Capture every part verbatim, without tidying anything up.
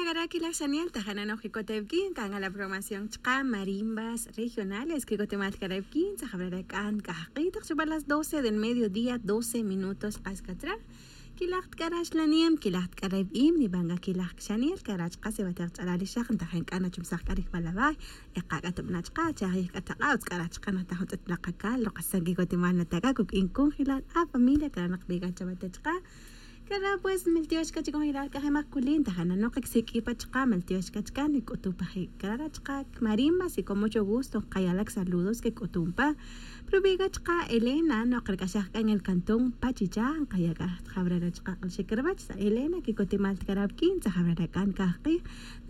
Cara' quilaj xaniel taja' nano'j quicot awuquin can la programación chka' marimbas regionales quicot imal cara' awuquin tzajabrar ac'an c'ajk'i tak chuba' las doce del mediodía doce minutos kas catra. Quilaj tk'ara' xlanem quilaj tk'ara' awu'im niban c'a quilaj xaniel cara' chka' si watek ch'alal ixak ntajen c'a nachumsaj c'a rijbal away. Ekac'atub na chka' chajij c'a tak'a utz c'a raj chka' nataj juntz'et lakacal lokasan quicot imal nata' c'a cuq'uin conjelal a familia cara' nakbi c'a chawa te chka'. Cara' pues miltiox c'a chi conjelal c'a je' mak culin taja' nanok csiq'ui pa chka' miltiox c'a chka' nic'utuj pa je' cara' chka' marimba si con mucho gusto kayalak saludos que c'utum pa. Pero bi c'a chka' elena no' kerc'axaj c'a en el cantón pachicha nkaya' c'a jabra re chka' k'alxic rwach sa' elena quicot imal tkara' awuquin tzajabra re ac'an cajk'i.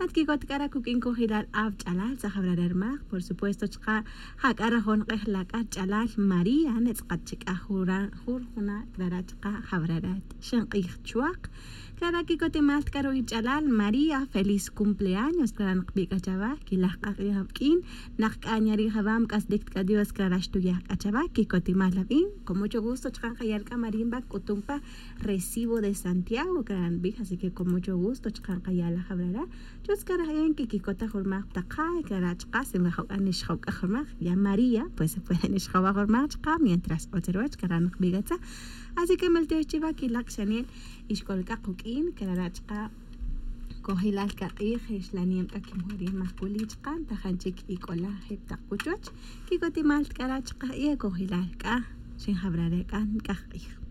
Lat quicot c'a ra cuq'uin conjelal awch'alal tzajabra re rmak por supuesto chka' ja c'a rajon k'ej la c'a ch'alal maría netz'kat chi c'a jura jur juna' clara' chka' jabra re xenk'ij chuak. Clara' quicot imal c'a ruwi' ch'alal maría feliz cumpleaños clara' nakbi c'a chawa quilaj k'ak'ij awuq'uin. Nak c'a nyari' jawam c'aslic c'a dios clara' xtuyaj c'a chawa quicot imal awu'in con mucho gusto chka' nkayal c'a marimba c'utum pa recibo de santiago clara' nbij así que con mucho gusto chka' nkayal jawara'. Chutz c'a raj en que quicot ta jurmak pa takay clara' chka' si nwajo' c'a nixjo' c'a jurmak ya maría pues se puede nixjo' wa jurmak chka' mientras otz ruwach clara' nakbi c'a tzaj. Así que miltiox chiwa quilak xaniel ixcol c'a kuq'uin clara' chka' cojelal c'a k'ij xlanem c'a quimujri' mak culi chka' ntajan chic ic'ola jep tak cuchuch. Quicot imal c'a ra chka' y e cojelal c'a xinjabra re c'a nc'aj k'ij.